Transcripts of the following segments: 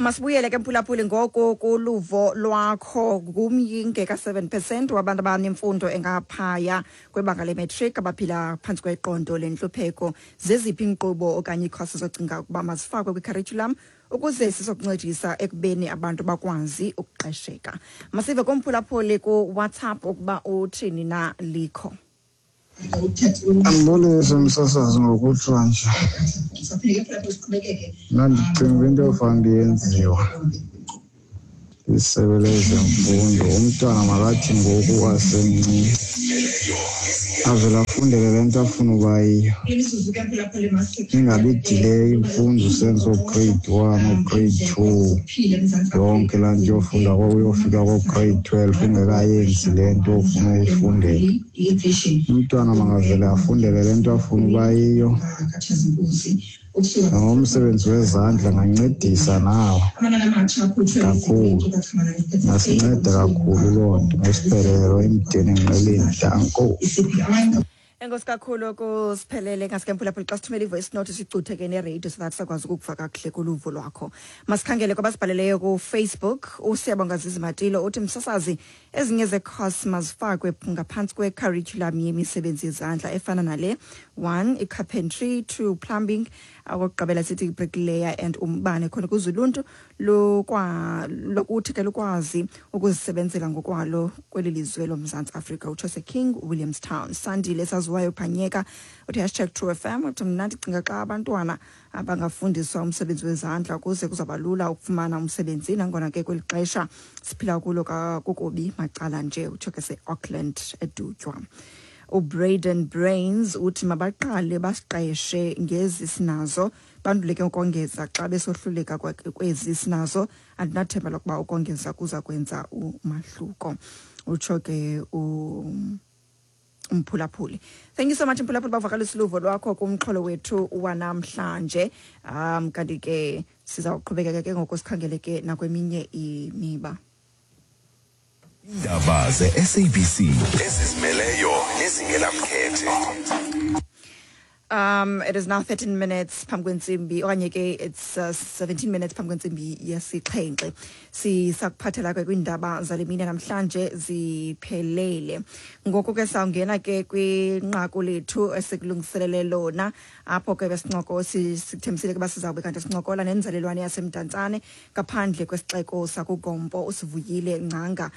Masibuyele ke, mphulaphuli, ngoku kuluvo lwakho. Ngumyinge ka-7% wabantu abanemfundo engaphaya kwebanga le-matric abaphila phantsi kweqondo lentlupheko. Zeziphi iinkqubo okanye iikhosi zocinga ukuba mazifakwe kwi-curriculum ukuze sizokuncedisa ekubeni abantu bakwazi ukuqesheka? Masive kumphulaphuli kuWhatsApp ukuba uthini na. Likho. Andibulise, msasazi. Ngokutsho nje, mna ndicinga into yofanele yenziwa lisebe lezemfundo, umntwana makathi ngoku asemncinci avele afundele le nto afuna uba yiyo, ingabi delay imfundo usenza oo-grade 1, oo-grade 2, yonke laa nto yofunda uyofika koo-grade 12 ungekayenzi le nto ofuna uyifundela. Umntwana makavele afundele le nto afuna uba yiyo. Nangomsebenzi wezandla angancedisa nawo kakhulu, ingasinceda kakhulu loo nto. Ngosiphelelo emdeni enqeleni, danko. Enkosi kakhulu kusiphelele. Ngaske, mphulaphuli, xa sithumela i-voice note sicuthe ke neradio so that sakwazi ukukuva kakuhle kuluvo lwakho. Masikhangele kwabasibhaleleyo kuFacebook. USiyabonga Zizimatilo uthi, "Msasazi, ezinye zecourse mazifakwe ngaphantsi kwe-curriculum yemisebenzi yezandla efana nale: one, i-carpentry; two, plumbing; okokugqibela sithi i-bricklayer and umbane, khona ukuze uluntu lokuthi ke lukwazi ukuzisebenzela ngokwalo kweli lizwe loMzantsi Afrika." Utsho seKing Williamstown. Sandile saziwayo Phanyeka uthi #TrueFM, uthi, "Mna ndicinga xa abantwana abangafundiswa umsebenzi wezandla ukuze kuzawuba lula ukufumana umsebenzi, nangona ke kweli xesha siphila kulo kukubi macala nje." Utsho ke se-Auckland, eDutywa. UBraden Brains uthi, "Mabaqale basiqeshe ngezi sinazo, bandule ke ukongeza xa besohluleka kwezi sinazo. Andinathemba lokuba ukongeza kuza kwenza umahluko." Utsho ke umphulaphuli. Thank you so much, mphulaphuli, bavakalisa uluvo lwakho kumxholo wethu wanamhlanje. Kanti ke sizawuqhubekeka ke ngoku sikhangele ke nakweminye imiba. Indaba ze-SABC ezizimeleyo nezingenamkhethe. It is now 13 minutes phambi kwentsimbi, okanye ke it's 17 minutes phambi kwentsimbi yesixhenxe. Sisakuphathela ke kwiindaba zale mini namhlanje ziphelele. Ngoku ke sawungena ke kwinqaku lethu esikulungiselele lona, apho ke besincoko sikuthembisile ke uba sizawube kanti sincokola nenzalelwane yaseMdantsane ngaphandle kwesixeko sakuGompo, uSivuyile Ngcanga,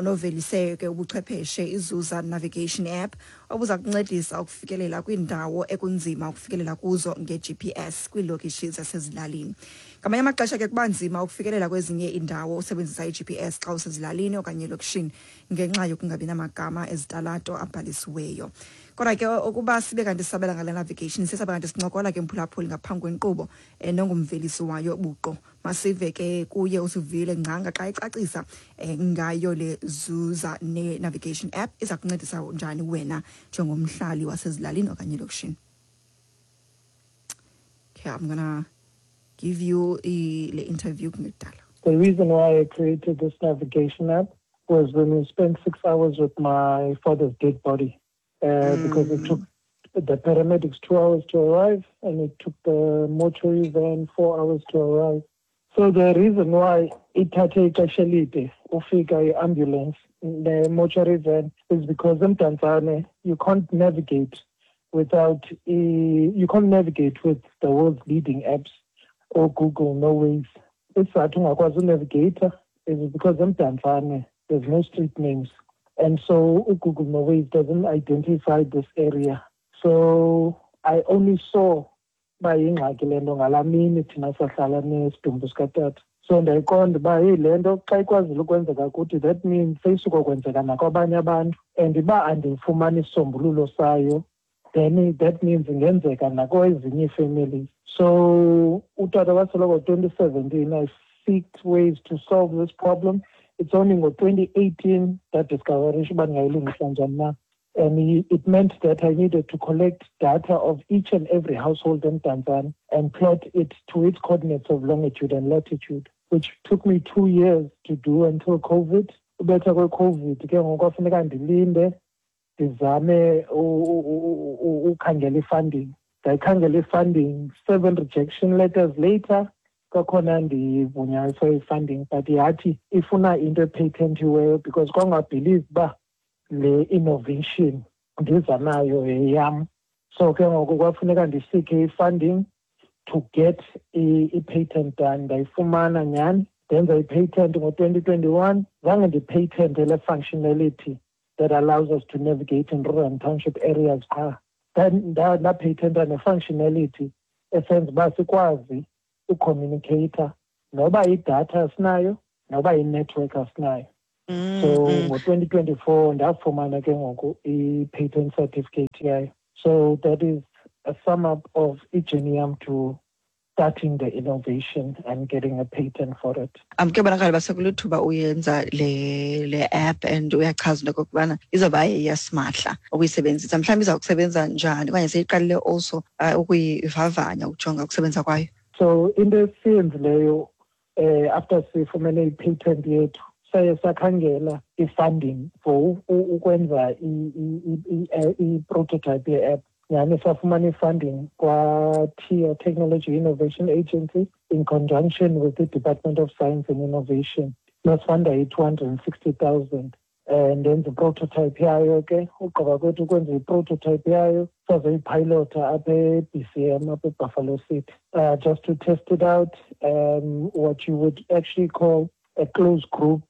novelise ke ubuchwepheshe iZuza Navigation App obuza kuncedisa ukufikelela kwiindawo ekunzima ukufikelela kuzo nge-GPS kwiilokishi zasezilalini. Ngamanye amaxesha ke kuba nzima ukufikelela kwezinye iindawo usebenzisa i-GPS xa usezilalini okanye elokishini ngenxa yokungabi namagama ezitalato abhalisiweyo. Kodwa ke ukuba sibe kanti sisabela ngale navigation, sisabe kanti sincokola ke, mphulaphuli, ngaphambi kwenkqubo nongumvelisi wayo buqu. Masive ke kuye uSivuyile Ngcanga xa ecacisa ngayo le Zuza ne-navigation app iza kuncedisa njani wena njengomhlali wasezilalini okanye elokishini. Okay, I'm gonna give you le interview kungekudala. The reason why I created this navigation app was when we spent 6 hours with my father's dead body, because it took the paramedics 2 hours to arrive and it took the mortuary van 4 hours to arrive. So the reason why ithathe ixesha elide ufika i-ambulance ne-mortuary van is because eMdantsane you can't navigate without you can't navigate with the world's leading apps or Google, no ways. Isizathu ungakwazi unavigate is because eMdantsane there's no street names. And so Google no ways doesn't identify this area. So I only saw uba yingxaki le nto ngalaa mini thina sahlala nesidumbu sikatata. So ndayiqonda uba heyi, le nto xa ikwazile ukwenzeka kuthi, that means seyisuka kwenzeka nakwabanye abantu, and uba andifumani isisombululo sayo, then that means ingenzeka nakwezinye ii-families. So utata wasweleka ngo-2017. I seeked ways to solve this problem. It's only ngo-2018 ndadiscoverisha uba ndingayilungisa njani na, and it meant that I needed to collect data of each and every household in Mdantsane and plot it to its coordinates of longitude and latitude, which took me 2 years to do until COVID. Ubetha kwe-COVID ke ngoku kwafuneka ndilinde ndizame ukhangela i-funding. Ndayikhangela i-funding, seven rejection letters later. Kwakhona ndivunyayo for i-funding, but yathi ifuna into epatentiweyo because kwangabhelieve uba le innovation ndiza nayo yeyam. So ke ngoku kwafuneka ndiseeke i-funding to get i-patent done. Ndayifumana nyhani, ndenza i-patent ngo-2021. Zange ndipatente le functionality that allows us to navigate in rural and township areas qha. Ndapatenta ne-functionality esenza uba sikwazi ucommunicata noba idatha asinayo, noba i-network asinayo. So ngo-2024 ndafumana ke ngoku i-patent certificate yayo. So that is a sum up of ijourney yam to starting the innovation and getting a patent for it. Kuyabonakala uba sekulithuba uyenza le app, and uyachaza into okokubana izawuba yeyasimahla ukuyisebenzisa. Mhlawumbi iza kusebenza njani, okanye seyiqalile also ukuyivavanya ukujonga ukusebenza kwayo? So into esiyenzileyo after sifumene i-patent yethu, saye sakhangela i-funding for ukwenza i-prototype ye-app. Nyhani safumana i-funding kwa-TIA, Technology Innovation Agency, in conjunction with the Department of Science and Innovation. Basifunda i-260,000 and ndenza i-prototype yayo ke. Ugqiba kwethu ukwenza i-prototype yayo, sazoyipilota apha e-BCM, apha eBuffalo City, just to test it out, what you would actually call a closed group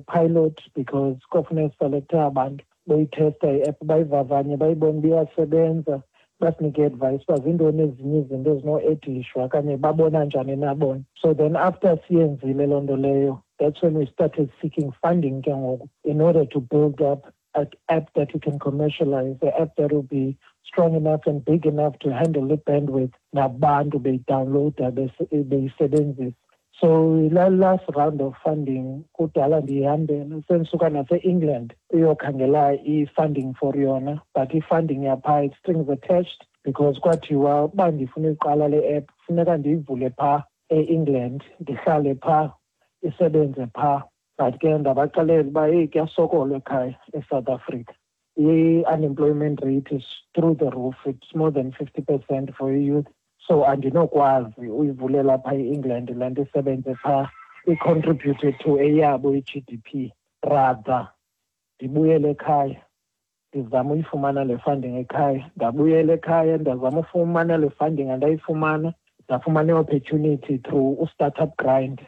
pilot, because kwafuneka siselecte abantu boyithesta i-app, bayivavanye, bayibone uba iyasebenza, basinike advice uba zintoni ezinye izinto ezino-edishwa okanye babona njani na bona. So then after siyenzile loo nto leyo, that's when we started seeking funding ke ngoku in order to build up an app that we can commercialize, an app that will be strong enough and big enough to handle the bandwidth nabantu beyidownloada, beyisebenzisa. So la last round of funding kudala ndiyihambela, sendisuka nase-England uyokhangela i-funding for yona, but i-funding yaphaa, it's strings attached, because kwathiwa uba ndifuna uyiqala le app funeka ndiyivule phaa e-England, ndihlale phaa, isebenze phaa. But ke ndabaxelela uba heyi, kuyasokolwa ekhaya eSouth Africa, i-unemployment rate is through the roof, it's more than 50% for youth, so andinokwazi uyivulela phaa e-England le nto isebenze phaa, icontribute to eyabo i-GDP. Rather ndibuyele ekhaya, ndizame uyifumana le funding ekhaya. Ndabuyela ekhaya, ndazama ufumana le funding, andayifumana. Ndafumana i-opportunity through uStartup Grind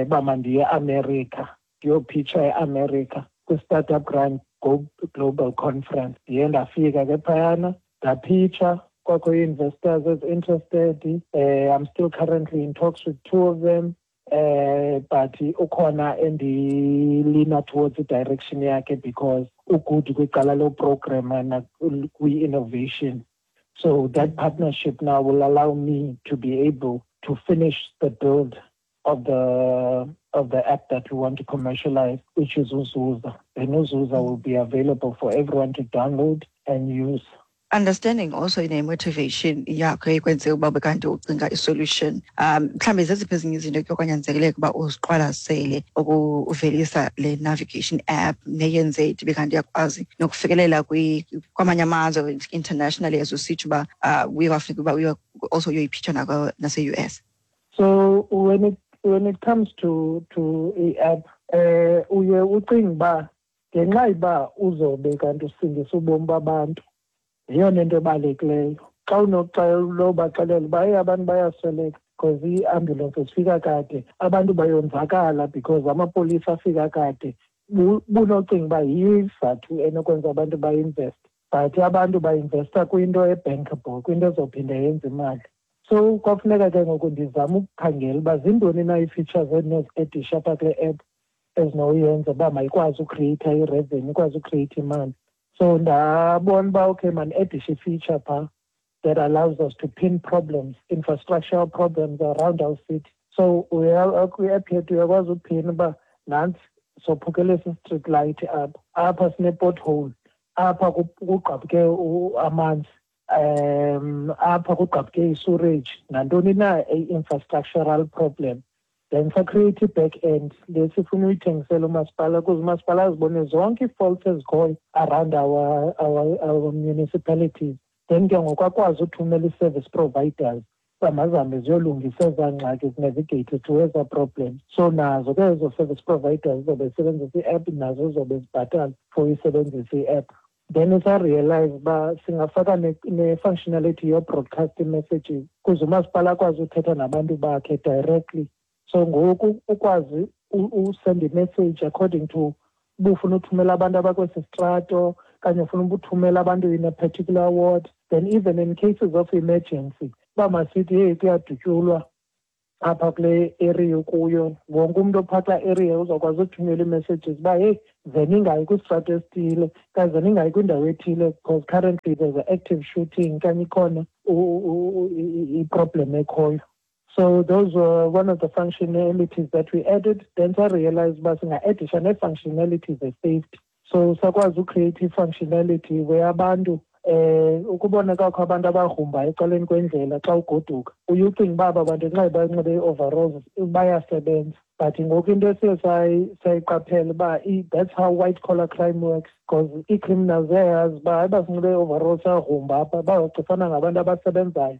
uba mandiye eAmerica, ndiyophitsha eAmerica kwi-Startup Grind Global Conference. Ndiye ndafika ke phayana, ndaphitsha, kwakho ii-investors ezi-interested. I'm still currently in talks with two of them, but ukhona endilina towards i-direction yakhe because ugood kwicala loprograma kwi-innovation. So that partnership now will allow me to be able to finish the build of the app that we want to commercialize, which is Uzuza. And Uzuza will be available for everyone to download and use. Understanding also ine-motivation yakho ekwenze uba bekanti ucinga i-solution, mhlawumbi zeziphi ezinye izinto ke kwanyanzeleka uba uziqwalasele ukuvelisa le navigation app neyenze ithi kanti iyakwazi nokufikelela kwamanye amazwe internationally, as usitsho uba uye kwafuneka uba uye also uyoyiphitsha nase-US? So when it comes to i-app, uye ucinga uba ngenxa yoba uzobe kanti usindisa ubomi babantu, yeyona into ebalulekileyo. Xa unobaxelela uba heyi, abantu bayasweleka because ii-ambulences zifika kade, abantu bayonzakala because amapolisa afika kade, bunocinga uba yiyo isizathu enokwenza abantu bainveste. But abantu bainvesta kwinto ebankable, kwinto ezophinda yenze imali. So kwafuneka ke ngoku ndizame ukukhangela uba zintoni na ii-features endinozi-addisha apha kule app ezinoyenza uba mayikwazi ucreata i-revenue, ikwazi ucreata imali. So ndabona uba okay, mandi-addishe i-feature phaa that allows us to pin problems, infrastructural problems around our city. So kwi-app yethu uyakwazi uphina uba nantsi, sophukele street light apha, apha sine-pothole, apha kugqabhuke amanzi, apha kugqabhuke i-sewerage, nantoni na i-infrastructural problem. Then sacreate i-back end le sifuna uyithengisela umasipala ukuze umasipala azibone zonke ii-faults ezikhoyo around our municipalities. Then ke ngoku akwazi uthumela ii-service providers. Uba mazihambe ziyolungisa ezaa ngxaki, zinavigate to ezaa problems. So nazo ke ezo service providers zizobe zisebenzisa i-app, nazo zizobe zibhatala for uyisebenzisa i-app. Then sarealize uba singafaka ne-functionality yo-broadcast messages ukuze umasipala akwazi uthetha nabantu bakhe directly. So ngoku ukwazi usend imessage according to uba ufuna uthumela abantu abakwesi strato kanye ufuna ukuthumela abantu in a particular ward. Then even in cases of emergency, uba masithi heyi, kuyadutyulwa apha kule area kuyo, wonke umntu ophaa kulaa area uzawukwazi uthumela ii-messages uba heyi, ze ningayi kwisitrato esithile okanye ze ningayi kwindawo ethile because currently there's an active shooting okanye ikhona iproblem ekhoyo. So those were one of the functionalities that we added. Then sarealize uba singa-addisha nee-functionalities ze-safety. So sakwazi ucreate i-functionality where abantu ukubona kwakho abantu abagrumbayo ecaleni kwendlela xa ugoduka, uye ucinga uba aba bantu nxa banxibe ii-overalls bayasebenza, but ngoku into esiye sayiqaphela uba that's how white collar crime works, because ii-criminals ziyayazi uba hayi, basinxibe ii-overalls siyagrumba apha, bazawucifana ngabantu abasebenzayo.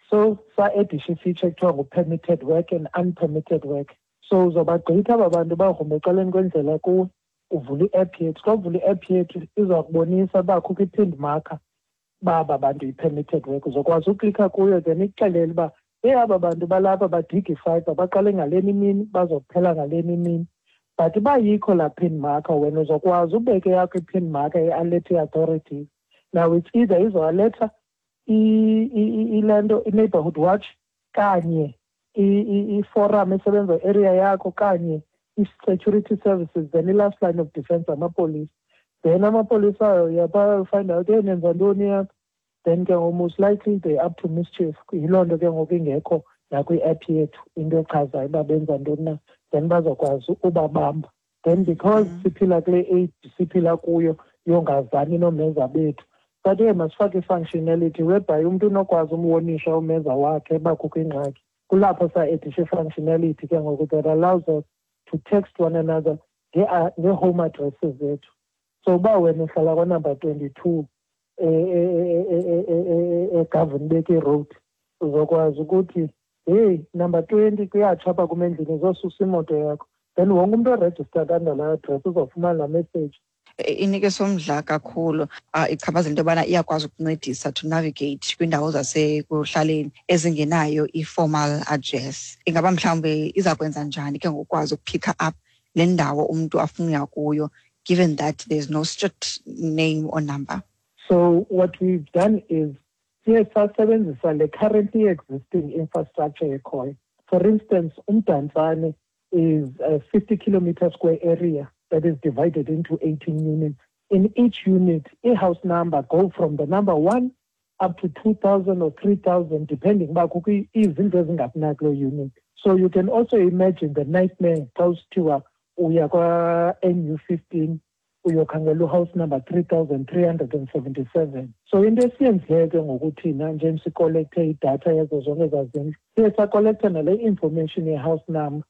So sa-addisha ifeature ekuthiwa ngu-permitted work and unpermitted work. So uzobagqitha aba bantu bagrumba ecaleni kwendlela kuwe, uvula i-app yethu. Xa uvula i-app yethu, iza kubonisa uba kukho i-pinned marker uba aba bantu yi-permitted work. Uzokwazi uklikha kuyo, then ikuxelele uba heyi, aba bantu balapha badiga ifayibha, baqale ngaleni imini, bazokuphela ngaleni imini. But uba yikho laa pin marker, wena uzokwazi ubeke yakho i-pin marker i-alert i-authorities. Now it's either izoaletha ile nto i-neighborhood watch kanye i-forum esebenza area yakho kanye i-security services, then i-last line of defense amapolisa. Then amapolisa ayo yapha find out, hey, nenza ntoni apha? Then ke ngoku most likely they up to mischief. Yiloo nto ke ngoku ingekho nakwi-app yethu into echazayo uba benza ntoni na, then bazokwazi ubabamba. Then because siphila kule age siphila kuyo yongazani noomeza bethu, but hey, masifake i-functionality whereby umntu unokwazi umwonisha umeza wakhe uba kukho ingxaki. Kulapho sa-addisha i-functionality ke ngoku that allows us to text one another ngee-home addresses zethu. So uba wena uhlala kwanumber 22 eGovan Mbeki Road, uzokwazi ukuthi heyi, number 20 kuyatsha apha kum endlini, zosusa imoto yakho. Then wonke umntu oregistered under laa address uzofumana laa message. Inikisa umdla kakhulu, ichaphazela into yobana iyakwazi ukuncedisa to navigate kwiindawo zasekuhlaleni ezingenayo i-formal address. Ingaba mhlawumbi iza kwenza njani ke ngokwazi ukuphicka up le ndawo umntu afuna uya kuyo, given that there's no street name or number? So what we've done is siye sasebenzisa le currently existing infrastructure ekhoyo. For instance, uMdantsane is a 50 kilometer square area that is divided into 18 units. In each unit, a house number go from the number 1 up to 2,000 or 3,000, depending uba kukho izindlu ezingaphi na kuloo unit. So you can also imagine the nightmare xa usithiwa uya kwa-NU 15 uyokhangela uhouse number 3377. So into esiyenzileyo ke ngoku thina, njengoba sicollecte idatha yazo zonke ezaa zindlu, siye sacollecta nale information ye-house number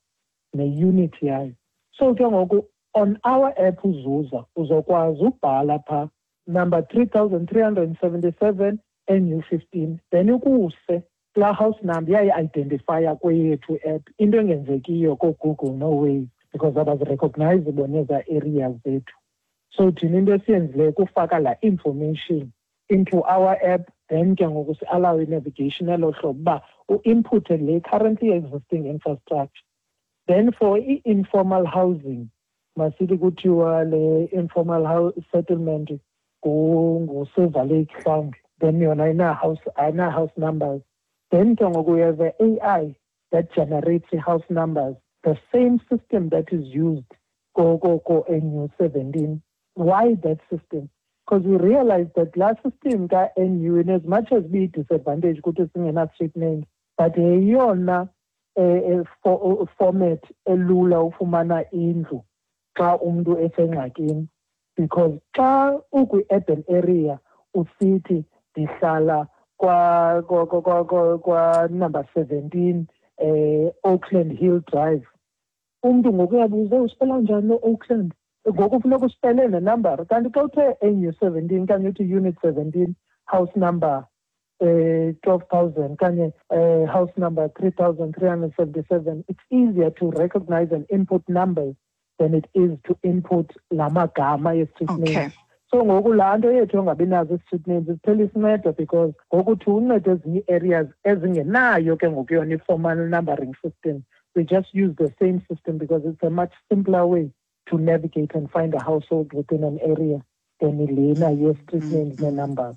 ne-unit yayo. So ke ngoku on our app uZuza, uzokwazi ubhala phaa number 3377 NU 15, then ukuse kulaa house number, iyayi-identifya kweyethu app, into engenzekiyo kooGoogle nooWaze because abazirecognize bona ezaa areas zethu. So thina into esiyenzileyo kufaka laa information into our app, then ke ngoku si-allow i-navigation elo hlobo uba u-inpute le currently existing infrastructure. Then for i-informal housing, masithi kuthiwa le informal house settlement nguSilver Lake mhlawumbi, then yona ayina-house numbers. Then ke ngoku we have a AI that generates i-house numbers, the same system that is used ko-NU 17. Why that system? Because we realized that laa system ka-NU, in as much as biyi-disadvantage ukuthi singena-street names, but yeyona format elula ufumana indlu xa umntu esengxakini, because xa ukwi-urban area usithi ndihlala kwa number 17 Oakland Hill Drive, umntu ngoku uyabuza, uspela njani lo Oakland? Ngoku funeka uspele nenambara. Kanti xa uthe NU 17 okanye uthi unit 17 house number 12,000 okanye house number 3377. It's easier to recognize and input numbers than it is to input la magama ye-street names. So ngoku laa nto yethu yongabi nazo i-street names iphela isinceda, because ngokuthi uncede ezinye ii-areas ezingenayo ke ngoku yona i-formal numbering system. We just use the same system because it's a much simpler way to navigate and find a household within an area than lena ye-street names nee-numbers.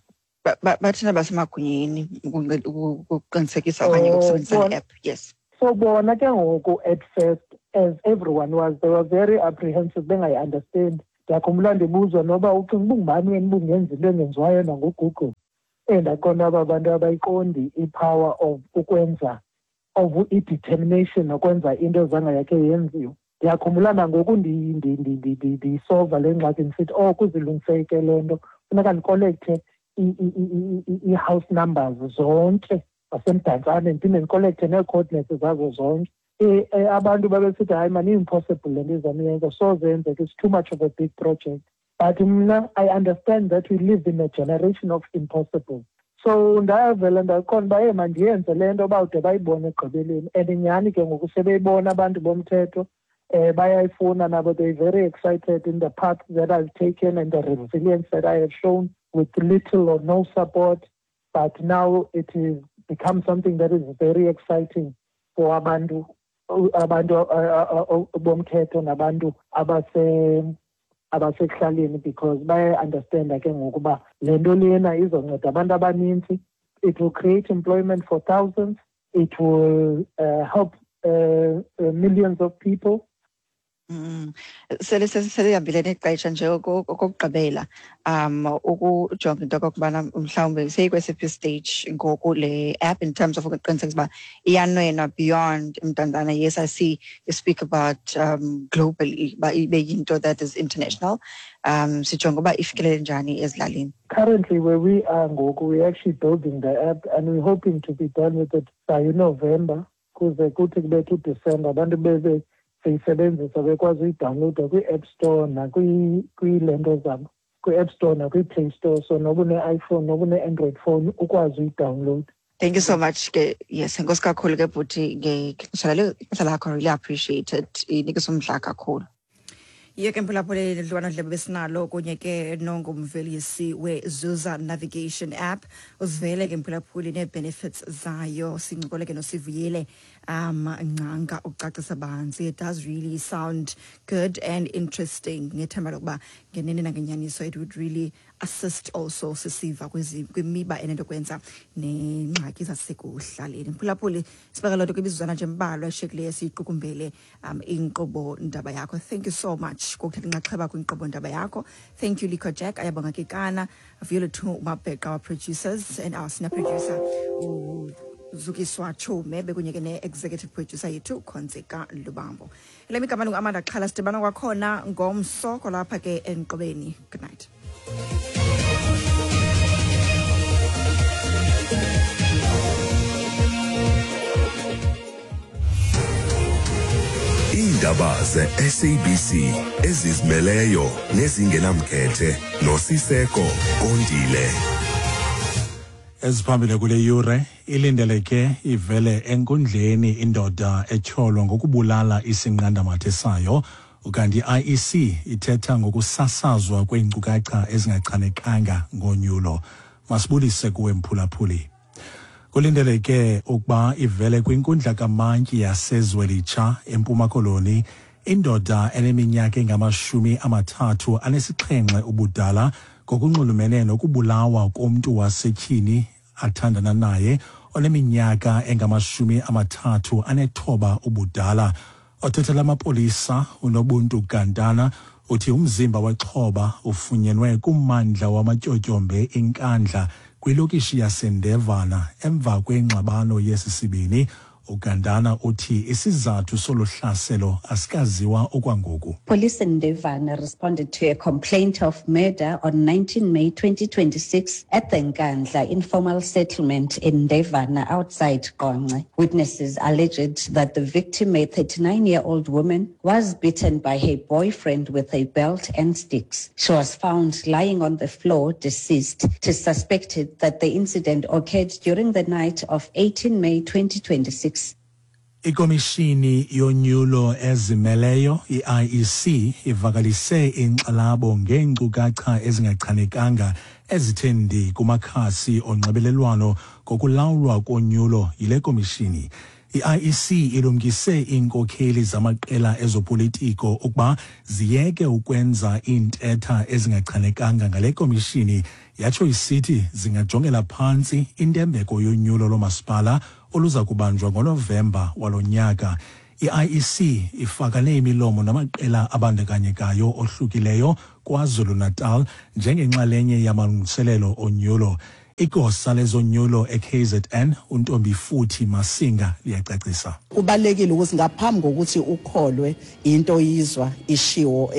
Bathina basemagunyeni ukuqinisekisa okanye ukusebenzisa le app, yes. So bona ke ngoku at first, as everyone was, they were very apprehensive, bengayi-understand. Ndiyakhumbula ndibuzwa noba ucinga uba ungubani wena ubungenza into engenziwayo nanguGoogle. Ndaqonda aba bantu abayiqondi i-power of ukwenza, of i-determination nokwenza into ezange yakhe yenziwe. Ndiyakhumbula nangoku ndiyisolva le ngxaki, ndisithi, oh, kuzilungiseke le nto, funeka ndikolekte ii-house numbers zonke zaseMdantsane, ndiphinde ndikolekte nee-coordinates zazo zonke. Abantu babesithi, hayi mani, i-impossible le nto izama uyenza, soze yenzeke, it's too much of a big project. But mna, I understand that we live in a generation of impossible. So ndavela ndaqonda uba, hey, mandiyenze le nto uba ude bayibone ekugqibeleni. And nyhani ke ngoku sebeyibona abantu bomthetho, bayayifuna nabo. They're very excited in the path that I've taken and the resilience that I have shown with little or no support. But now it has become something that is very exciting for abantu bomthetho nabantu abasekuhlaleni, because bayayi-understanda ke ngoku uba le nto lena izonceda abantu abanintsi. It will create employment for thousands. It will help millions of people. Sele selihambile nexesha nje. Okokugqibela, ukujonga into okokubana mhlawumbi seyikwesiphi stage ngoku le app in terms of ukuqinisekisa uba iyanwenwa beyond Mdantsane. Yes, I see you speak about globally, uba ibe yinto that is international. Sijonga uba ifikelele njani ezilalini? Currently, where we are ngoku, we're actually building the app and we're hoping to be done with it by November, kuze kuthi kubethe uDisemba abantu bebe seyisebenzisa, bekwazi uyidownloada kwi-App Store nakwiile nto zabo, kwi-App Store nakwi-Play Store. So noba une-iPhone, noba une-Android phone, ukwazi uyidownload. Thank you so much ke. Yes, enkosi kakhulu ke bhuti ngexesha ixesha lakho, really appreciate it, inikisa umdla kakhulu. Yiyo ke, mphulaphuli, dliwanodlebe besinalo kunye ke nongumvelisi weZuza Navigation App. Uzivele ke, mphulaphuli, nee-benefits zayo. Sincokole ke noSivuyile Ngcanga ukucacisa banzi. It does really sound good and interesting, ngethemba lokuba ngenene nangenyaniso it would really assist also sisiva kwimiba enento kwenza neengxaki zasekuhlaleni. Mphulaphuli, sibeka loo nto kwimizuzwana nje embalwa eshiyekileyo siyiqukumbele inkqubo ndaba yakho. Thank you so much ngokuthatha inxaxheba kwinkqubo ndaba yakho. Thank you, Lico Jack, Ayabonga Kekana, Viola Mabheqa, our producers, and our senior producer uZukiswa Chume, bekunye ke ne-executive producer yethu Khonzeka Lubambo. Elami igama lingu-Amanda Xhala. Sidibana kwakhona ngomso kwalapha ke enkqubeni. Good night. Iindaba ze-SABC ezizimeleyo nezingenamkhethe noSiseko Kondile. Eziphambili kule yure: ilindeleke ivele enkundleni indoda etyholwa ngokubulala isinqandamathe sayo, ukanti i-IEC ithetha ngokusasazwa kweenkcukacha ezingachanekanga ngonyulo. Masibulise kuwe, mphulaphuli. Kulindeleke ukuba ivele kwinkundla kamantyi yaseZwelitsha eMpuma Koloni indoda eneminyaka engama-37 ubudala ngokunxulumene nokubulawa komntu wasetyhini athandana naye oneminyaka engama-39 ubudala. Othethela amapolisa uNobuntu Gantana uthi umzimba wexhoba ufunyenwe kummandla wamatyotyombe iNkandla kwilokishi yaseNdevana emva kwengxabano yesi sibini. Ugandana uthi isizathu solu hlaselo asikaziwa okwangoku. Police in Ndevana responded to a complaint of murder on 19 May 2026 at the Nkandla informal settlement in Ndevana outside Qonce. Witnesses alleged that the victim, a 39-year-old woman, was beaten by her boyfriend with a belt and sticks. She was found lying on the floor, deceased. It is suspected that the incident occurred during the night of 18 May 2026. Ikomishini yonyulo ezimeleyo i-IEC ivakalise inkxalabo ngeenkcukacha ezingachanekanga ezithe ndi kumakhasi onxibelelwano ngokulawulwa konyulo yile komishini. I-IEC ilumkise iinkokheli zamaqela ezopolitiko ukuba ziyeke ukwenza iintetha ezingachanekanga ngale komishini, yatsho isithi zingajongela phantsi intembeko yonyulo lomasipala oluza kubanjwa ngoNovemba walo nyaka. I-IEC ifakane imilomo namaqela abandakanyekayo ohlukileyo KwaZulu-Natal njengenxalenye yamalungiselelo onyulo. Igosa lezonyulo e-KZN uNtombifuthi Masinga liyacacisa. Kubalulekile ukuthi ngaphambi kokuthi ukholwe into oyizwa ishiwo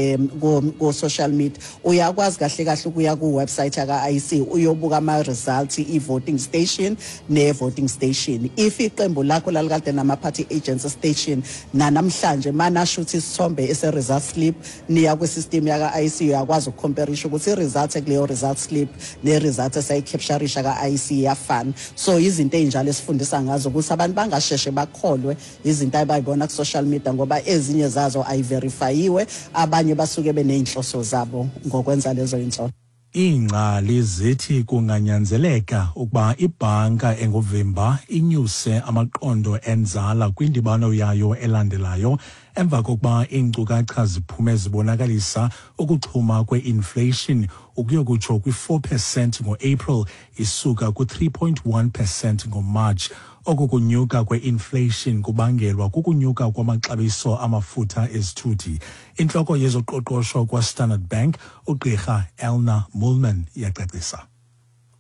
ku-social media, uyakwazi kahle kahle ukuya ku-website yaka-IEC uyobuka ama-results, i-voting station ne-voting station. If iqembu lakho lalikade nama-party agents station, nanamhlanje manasho ukuthi isithombe ese-result slip, niya kwi-system yaka-IEC, uyakwazi ukucomparisha ukuthi i-result ekuleyo result slip ne-result esayicapturisha ka-IEC iyafana. So izinto ey'njalo esifundisa ngazo ukuthi abantu bangasheshe bakholwe izinto abayibona ku-social media, ngoba ezinye zazo ayiverifayiwe, abanye basuke beney'nhloso zabo ngokwenza lezo y'nsolo. Iingcali zithi kunganyanzeleka ukuba ibhanka enguvimba inyuse amaqondo enzala kwindibano yayo elandelayo emva kokuba iinkcukacha ziphume zibonakalisa ukuxhuma kwe-inflation ukuyokutsho kwi-4 percent ngo-April isuka ku-3.1 percent ngoMarch. Oku kunyuka kwe-inflation kubangelwa kukunyuka kwamaxabiso amafutha ezithuthi. Intloko yezoqoqosho kwaStandard Bank uGqirha Elna Moolman iyacacisa.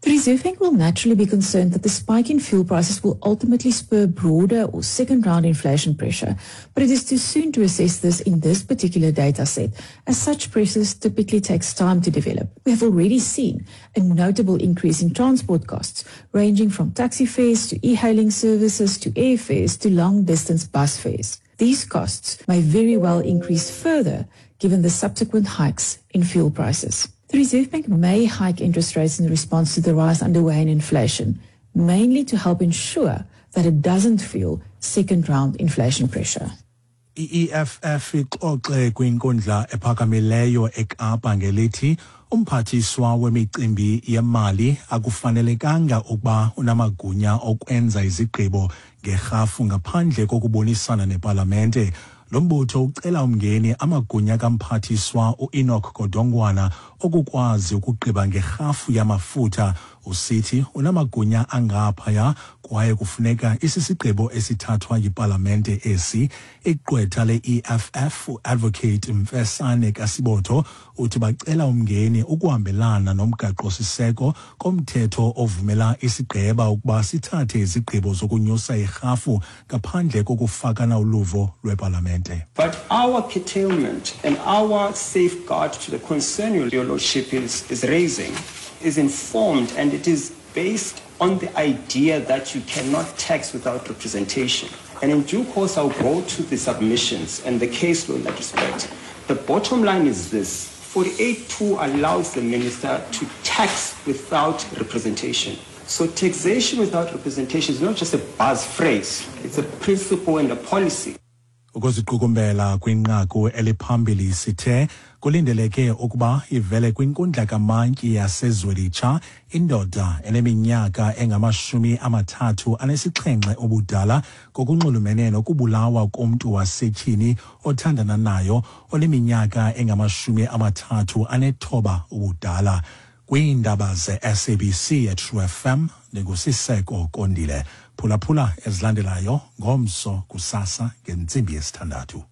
The Reserve Bank will naturally be concerned that the spike in fuel prices will ultimately spur broader or second round inflation pressure, but it is too soon to assess this in this particular data set, as such pressures typically takes time to develop. We have already seen a notable increase in transport costs, ranging from taxi fares to e-hailing services to airfares to long-distance bus fares. These costs may very well increase further given the subsequent hikes in fuel prices. The Reserve Bank may hike interest rates in response to the rise underway in inflation, mainly to help ensure that it doesn't fuel second round inflation pressure. I-EFF ixoxe kwinkundla ephakamileyo eKapa ngelithi umphathiswa wemicimbi yemali akufanelekanga ukuba unamagunya okwenza izigqibo ngerhafu ngaphandle kokubonisana nepalamente. Lo mbutho ucela umngeni amagunya kamphathiswa uEnoch Godongwana okukwazi ukugqiba ngerhafu yamafutha, usithi unamagunya angaphaya kwaye kufuneka isisigqibo esithathwa yipalamente esi. Igqwetha le-EFF uadvocate Mfesane Kasibotho uthi bacela umngeni ukuhambelana nomgaqo-siseko komthetho ovumela isigqeba ukuba sithathe izigqibo zokunyusa irhafu ngaphandle kokufakana uluvo lwepalamente. But our curtailment and our safeguard to the concern your lordship is raising is informed, and it is based on the idea that you cannot tax without representation. And in due course, I'll go to the submissions and the case law in that respect. The bottom line is this: 48.2 allows the minister to tax without representation. So taxation without representation is not just a buzz phrase, it's a principle and a policy. Ukuziqukumbela kwinqaku eliphambili, sithe kulindeleke ukuba ivele kwinkundla kamantyi yaseZwelitsha indoda eneminyaka engama-37 ubudala ngokunxulumene nokubulawa komntu wasetyhini othandana nayo oneminyaka engama-39 ubudala. Kwiindaba ze-SABC eTrue FM, ndinguSiseko Kondile. Phulaphula ezilandelayo ngomso kusasa ngentsimbi yesithandathu.